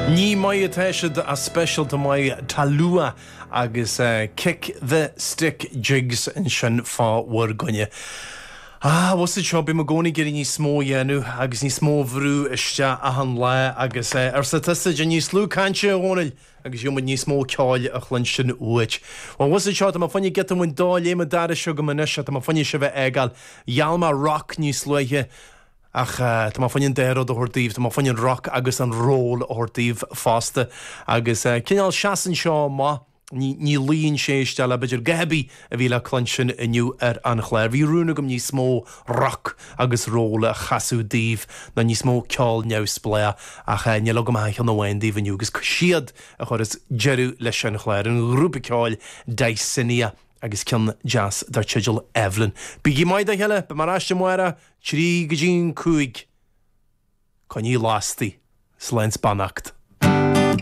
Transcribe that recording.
Ní maith atá siad ach speisialta maith Talua agus Kick the Stick Jigs ansin fá bhur gcoinne. Ah, bhfuil fhios a'd seo, bím i gcónaí ag iarraidh níos mó a dhéanamh agus níos mó a bhrú isteach achan lá agus arsa tusa, déan níos lú cainte, a Dhónaill, agus gheobhaidh muid níos mó ceoil a chluinstin uait. Bhuel, bhfuil fhios a'd seo, tá mé fá choinne giota amháin dá léim an doras agam anois, tá mé fá choinne sibh a fhágáil. Gheall mé rock níos luaithe ach tá mé fá choinne an dá rud a thabhairt daoibh, tá mé fá choinne an rock agus an roll a thabhairt daoibh fosta agus cineál seasann seo amach. Ní luíonn sé isteach le b'fhéidir a dhath ar bith a bhí le cluinstin inniu ar an chlár. Bhí rún agam níos mó rock agus roll a chasadh daoibh ná níos mó ceol neamhspleách ach níl agam ach ceann amháin daoibh inniu agus siad a chuireas deireadh leis an chlár, an grúpa ceoil Dysania agus ceann deas dar teideal Evelyn. Bígí maith dá chéile, beidh mé ar ais amárach, 3 go dtí an 5. Coinnigí lasta. Slán 's beannacht.